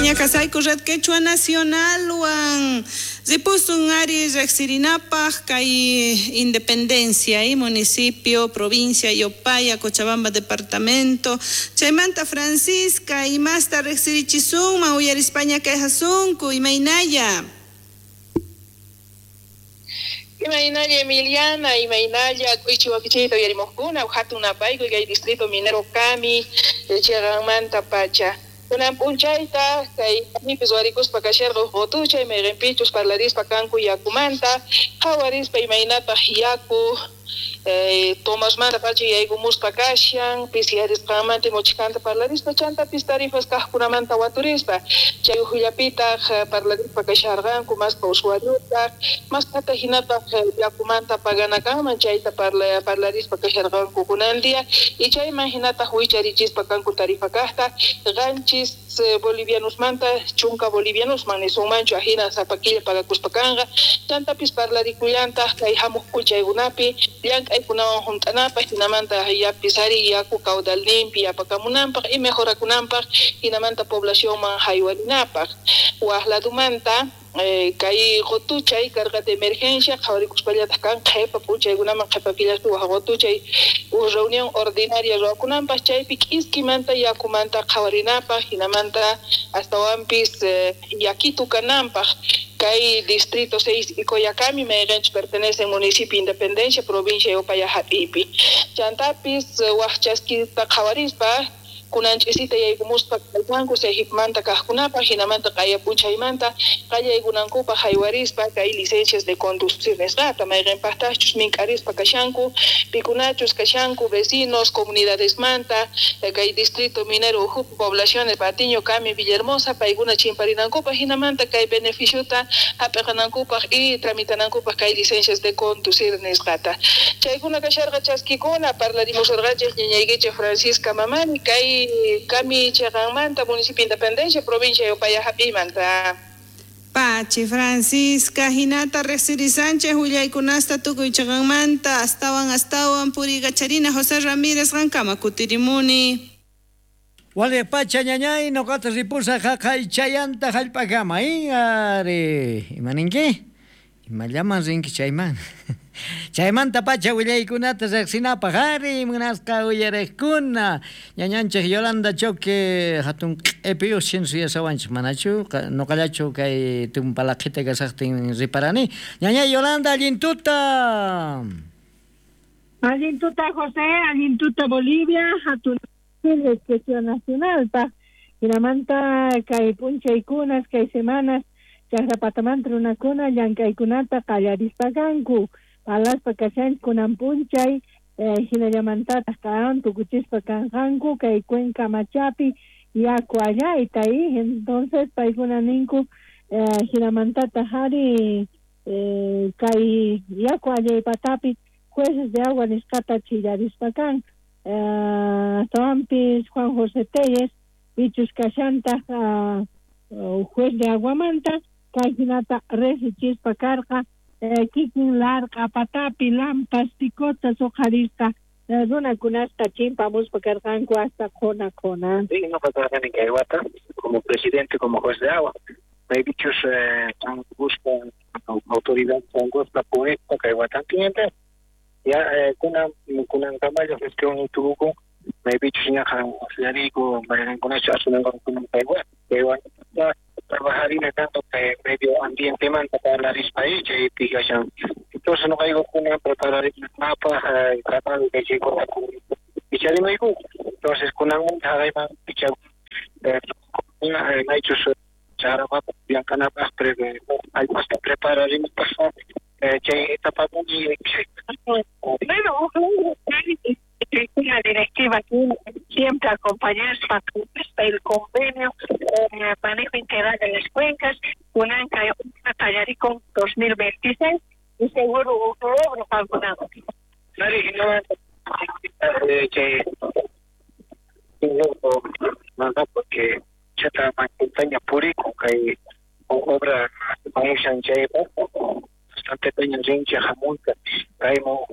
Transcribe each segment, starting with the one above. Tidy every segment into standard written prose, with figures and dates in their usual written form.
Kusisqaña kasayku Red Quechua Nacionalwan. Ripusun ari riqsirinapaq kay Independencia, municipio, provincia Yopaya, Cochabamba departamento. Chaymanta Francisca, imasta riqsirichisunman uyarispaña kayhasunku, imaynalla? Imaynalla Emiliana, imaynalla k'uychi wakichiyta uyarimuqkuna, hatun napaykuy kay distrito minero Cami, chiqanmanta pacha. Kunan p'unchayta kay Camipis warikuspa kasharqa uj qutuchay mayqinpichus parlarispa kanku yakumanta, qhawarispa imaynataq yaku Tomasmanta pacha yaykumuspa kashan, pisiyarisqanmanta imuchkanta parlarispa, chantapis tarifas kaqkunamanta waturispa, chay ujullapitaq parlarispa kasharqanku masqa usuariotaq, masqata hinataq yakumanta pagana kanman chayta parlarispa kasharqanku kunan día, y chayman hinataq wicharichispa kanku tarifa kaqta, 7 bolivianosmanta 10 bolivianosman nisunmanchu ajina sapa killa pagakuspa kanqa, chantapis parlarikullantaq kay hamuq p'unchaykunapi llank'aykunawan hunt'anapaq, hinamanta yapis ari yaku caudalninpi yapakamunanpaq y mejorakunanpaq, hinamanta poblacionman haywarinapaq. Waq ladumanta kay qutuchay karqa de emergencia qhawarikuspallataq kan qhipa p'unchaykunaman qhipa killaspi waq qutuchay uj reunión ordinaria ruwakunanpaq, chaypi k'iskimanta yakumanta qhawarinapaq, hinamanta astawanpis yakitu kananpaq kay distrito 6 y Coyacami mayqinchus pertenece municipio Independencia provincia Yopaya hap'iypi. Chantapis waq chaskita qhawarispa kunan ch'isita yaykumuspa kallpanku Sejipmanta kaqkunapaq, hinamanta q'aya p'unchaymanta qallaykunankupaq haywarispa kay licencias de conducir nisqata, mayqinpaqtaqchus mink'arispa kashanku, pikunachus kashanku vecinos, comunidadesmanta, kay distrito minero ukhupi poblaciones Patiño, Cami, Villahermosa, paykuna chimparinankupaq, hinamanta kay beneficiota hap'iqanankupaq y tramitanankupaq kay licencias de conducir nisqata. Chaykuna kasharqa chaskikuna, parlarimusurqanchik ñañaykichik Francisca Mamani, kay Cami chiqanmanta, municipio Independencia, provincia Yopaya hap'iymanta. Pachi Francisca, hinata riqsirisanchik willaykunasta tukuy chiqanmanta, astawan astawan puriykacharina José Ramírez qankama kutirimuni. Waliq pacha ñañay, noqata ripusaq haqay chayanta hallp'akama, ari, ima ninki? Imallaman rinki chayman? Chaymanta pacha willaykunata riqsinapaq, ari, munasqa uyariqkuna, ñañanchik Yolanda Choque hatun q'ipiyuq chin suyasawanchik, manachu noqallachu kay tumpalaqhita kasaqtin riparani. Ñañay Yolanda, allin tuta. Allin tuta José, allin tuta Bolivia, hatun Quechua Nacionalpaq, hinamanta kay p'unchaykunas, kay semanas, chaqrapatamanta runakuna llank'aykunata qallarispa kanku, palaspa kashanchik kunan p'unchay, hinallamantataq kan tukuchispa kanqanku kay Cuenca Machapi yaku allayta, entonces paykuna ninku hinamantataq ari kay yaku allaypatapi jueces de agua nisqata chillarispa kan. Astawanpis Juan José Telles pichus kashantaq juez de aguamanta kay hinata riqsichispa karqa kikin larq'a patapi lampas picotas uqharisqa runakunasta chimpamuspa karqanku hasta qhona qhona. Sí, noqa karqani kay wata como presidente, como juez de agua. Maypichus busca autoridad busca puesta kay watantinta. Ya kunan kamayo gestión tuvo maypichus ñaqa usyariku mayqinkunachu asumunqaku kay wata trabajarina tanto kay medio ambiente manta parlarispa ahí chaypi kashan. Entonces noqaykukuna prepararinapaq tratado kay chaykuna picharimayku. Entonces kunanmanta haqayman picha maychus charapata llankanapaq allpasta prepararinapaq chay etapapuni. Bueno, una directiva siempre acompañarse el convenio manejo integral de las cuencas, Unanca Tallaricón 2026 y seguro un logro vacunado. Porque chata montaña purico que obra bastante peña rincha jamunta caimo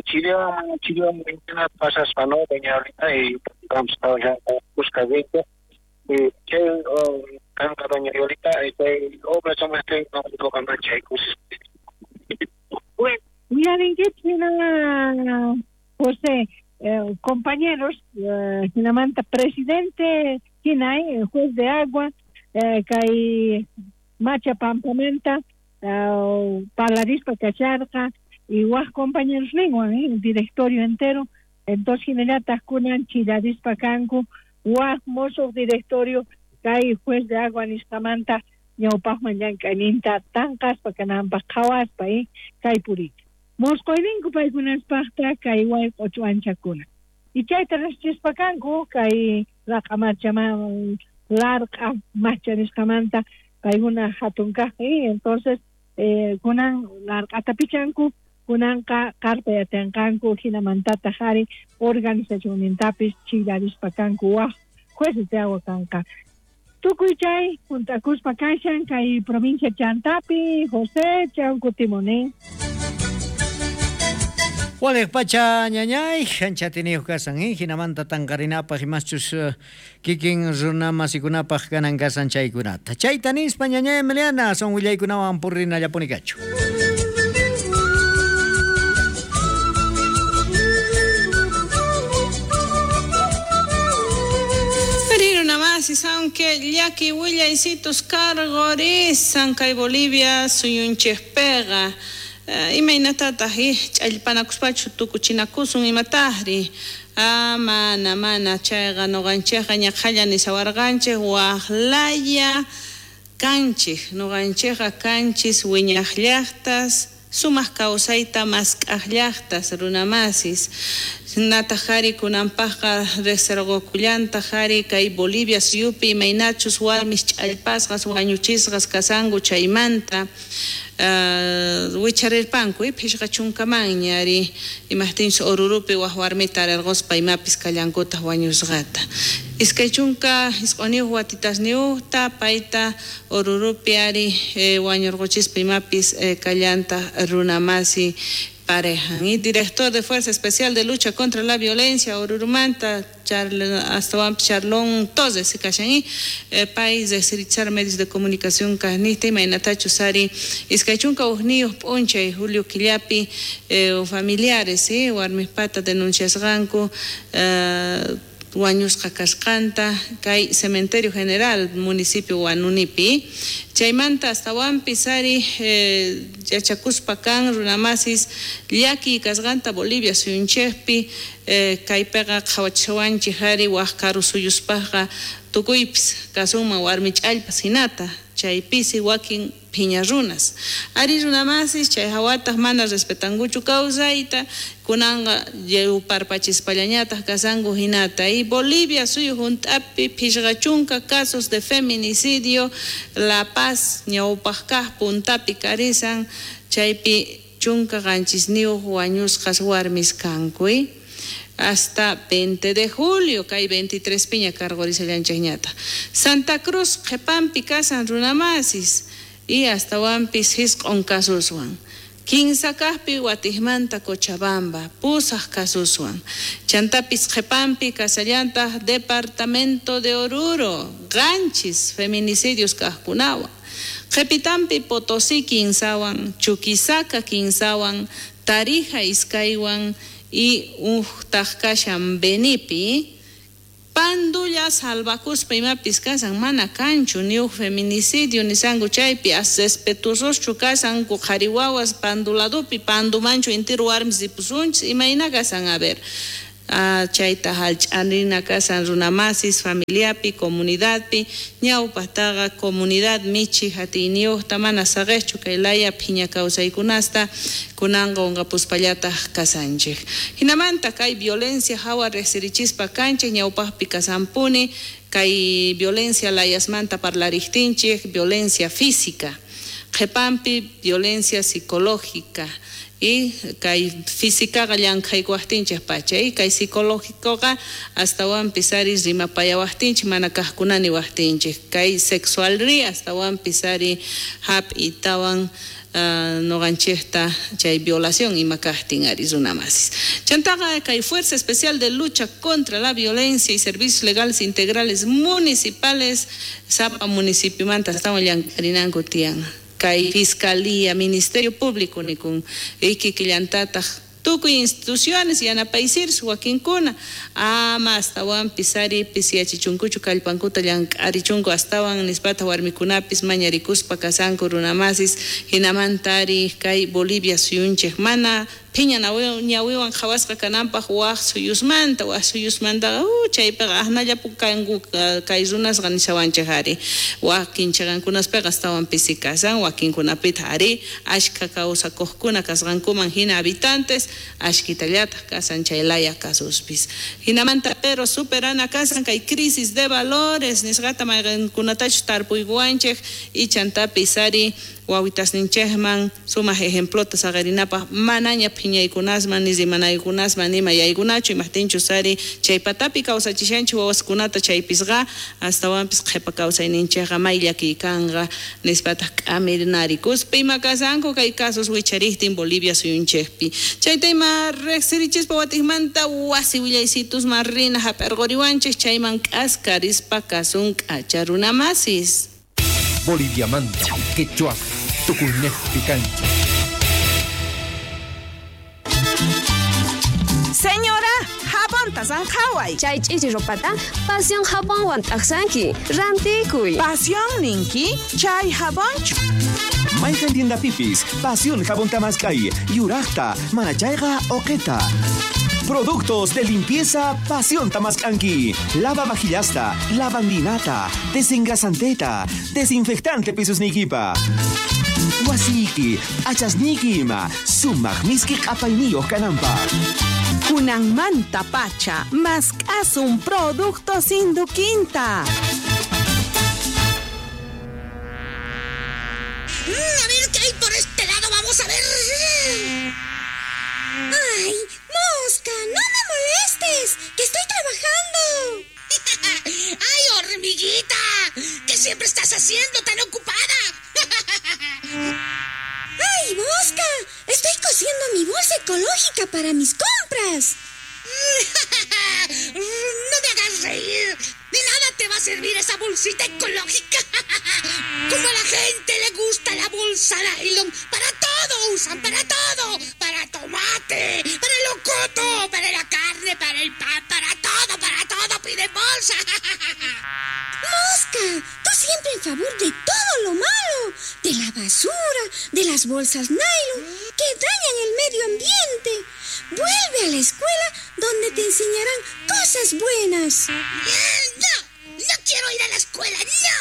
Chile pasas no doña ahorita y vamos a busca de Chay kanqa doña Violeta, chay obra chamaqtin noqa manchay kusis. Bueno, uyarinkichik hina José, compañeros, hinamanta presidente hina, juez de agua, kay Macha Pampamanta, parlarispa kacharqa y waj compañeros ninwan, directorio entero, entonces hinallataq kunan chillarispa kanku waj mosoq directorio kay juez de agua nisqamanta ñawpaqman llank'ayninta tanqaspa kananpaq qhawaspa kay purita. Mosqoyninku paykunaspaqta kay wayq'o ch'uanchakuna. Y chayta riqsichispa kanku kay raq'a marchaman larq'a macha nisqamanta paykuna hatun kaq, entonces kunan larq'ata pichanku, kunanqa qarpa yatanqanku hinamantataq ari organizacionnintapis chillarispa kanku waj jueces de agua kanqa. Tukuy chay juntakuspa kashan kay provincia Chantapi, José chan kutimunin. Waliq pacha ñañay, anchatiniyuq kasan, hinamanta tanqarinapaq imaschus kikin runa masikunapaq kanan kasan chaykunata. Chayta nispa ñañay Emiliana, son willaykunawan purrinallapuni kachu. Aunque llaki willaysitus cargorisan kay Bolivia suyunchikpiqa imaynatataq ch'allpanakuspachu tukuchinakusun imataqri mana mana chayqa nuqanchikqa ñaqhalla nisawarqanchik waqlaya kanchik nuqanchikqa kanchis wiñaq llaqtas sumaq kawsayta mask'aq llaqtas runamasis nataq qhari kunanpaqqa riqsirqukullantaq qhari kay Bolivia suyupi imaynachus warmis ch'allpasqas wañuchisqas kasanku chaymanta wicharirpanku phishqa chunkamanña ari imaqtinchus Orurupi waj warmita arirquspa imapis kallankutaq wañusqata iskay chunka isq'uniyuq watitasniyuqta payta Orurupi ari wañurquchispa imapis kallantaq runamasi pareja. Y director de Fuerza Especial de Lucha contra la Violencia, Orurumanta, Charlón Toses, kashan país de Sirichar medios de comunicación kasnista, imaynatachu sari, iskay chunka hukniyuq p'unchay, Julio Quillapi, familiares, warmispata denunciasqanku, wañusqa kasqanta kay Cementerio General municipio Huanunipi chaymanta astawanpis ari yachakuspa kan runamasis llaki kasqanta Bolivia suyunchikpi kaypiqa qhawachiwanchik ari waj karu suyuspaqqa tukuypis kasunman warmi ch'allpas hinata chaypisi wakin phiña runas ari runamasis chay hawataq mana respetankuchu kawsayta kunanqa yuparpachispallañataq kasanku hinata y Bolivia suyu hunt'api phishqa chunka casos de feminicidio La Paz ñawpaq kaq puntapi karisan chaypi chunka qanchisniyuq wañusqas warmis kanku hasta 20 de julio, kay 23 piña cargorisallanchikñata. Santa Cruz qhipanpi kasan runamasis y astawanpis hisq'un kasuswan. Kinsa kaqpi watijmanta Cochabamba, pusaq kasuswan. Chantapis qhipanpi kasallantaq departamento de Oruro, qanchis feminicidios kaqkunawan. Qhipitanpi Potosí kinsawan, Chuquisaca kinsawan, Tarija iskaywan y uhtaq kashan Benipi. Pandulla salvakuspa imapis kasan mana kanchu ni uj feminicidio nisanku chaypi as respetuososchu kasanku qhari wawas panduladupi pandumanchu intiru warmis ripusunchis imayna kasan a ver chayta hallch'arina kasan runamasis familiapi comunidadpi ñawpaqtaqa comunidad michi hatiyniyuqta mana saqejchu kay laya phiña kawsaykunasta kunanqa unqapuspallataq kasanchik hinamanta kay violencia hawa riqsirichispa kanchik ñawpaqpi kasanpuni kay violencia layasmanta parlariqtinchik violencia física qhipanpi violencia psicológica Y kay físicaqa llank'aykuwajtinchej pacha y kay psicológicoqa astawanpis ari rimapayawajtinchej mana kajkuna niwajtinchej kay sexualri astawanpis ari hap'itawan noqanchejta chay violación ima kajtin ari runamasis. Chantaqa kay Fuerza Especial de Lucha contra la Violencia y Servicios Legales Integrales Municipales sapa municipiomanta astawan llank'arinanku tiyan. Kay Fiscalía, Ministerio Público nikun kikillantataj tukuy instituciones yanapaysirus wakinkuna ama astawanpis ari pisiyachichunkuchu kallpankuta llank'arichunku astawan nispata warmikunapis mañarikuspa kasanku runamasis hinamanta ari kay Bolivia suyunchej mana phiña ñawiwan qhawasqa kananpaq waj suyusmanta chaypiqa asnallapu kanku kay runasqa nishawanchej ari wakin chaqankunaspiqa astawan pisi kasan wakinkunapitaq ari ashkha kawsakuqkuna kasqankuman hina habitantes ashkitallataj kasan chay laya kasuspis hinamanta pero superana kasan kay crisis de valores nisqata mayqinkunatachus tarpuykuwanchej y chantapis ari wawitasninchejman sumaj ejemplota saqarinapaj manaña phiñaykunasman ni rimanaykunasman nima yaykunachu imajtinchus ari chay patapi kawsachishanchik wawaskunata chaypisqa astawanpis qhipa kawsayninchejqa may llakiy kanqa nispataq k'amirnarikuspa ima kasanku kay casos wicharijtin Bolivia suyunchejpi chayta ima riqsirichispa watijmanta wasi willaysitusman rina hap'irquriwanchej chayman k'askarispa kasun k'acha runamasis. Boliviamanta, Quechua, Tucunejpi cancha. Señora, jabonta sanjaway. Chay ch'ichi ropata, pasión jabonwan t'aqsanki. Rantikuy. Pasión ninki, chay jabonchu. Mayqan tiendapipis, Pasión jabón tamaskay, yuraqta, manachayqa oqeta. Productos de limpieza Pasión Tamascanqui. Lava vajillasta, lavandinata, desengrasanteta, desinfectante pisos nikipa. Wasiki, achasniki ima, sumaq miski q'apayniyuq kananpaq. Kunanmanta pacha, mask'asun productos Induquinta. A ver qué hay por este lado, vamos a ver. ¡Ay, mosca! ¡No me molestes! ¡Que estoy trabajando! ¡Ay, hormiguita! ¿Qué siempre estás haciendo tan ocupada? ¡Ay, mosca! Estoy cosiendo mi bolsa ecológica para mis compras. ¡No me hagas reír! De nada te va a servir esa bolsita ecológica. Como a la gente le gusta la bolsa nylon, para todo usan, para todo. Para tomate, para el locoto, para la carne, para el pan, para todo piden bolsa. ¡Mosca! Tú siempre en favor de todo lo malo, de la basura, de las bolsas nylon, que dañan el medio ambiente. Vuelve a la escuela donde te enseñarán cosas buenas. ¡No! ¡No quiero ir a la escuela! ¡No!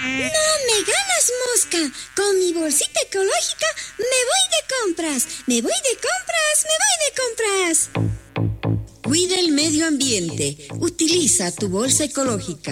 ¡No me ganas, mosca! Con mi bolsita ecológica me voy de compras. ¡Me voy de compras! ¡Me voy de compras! Cuida el medio ambiente. Utiliza tu bolsa ecológica.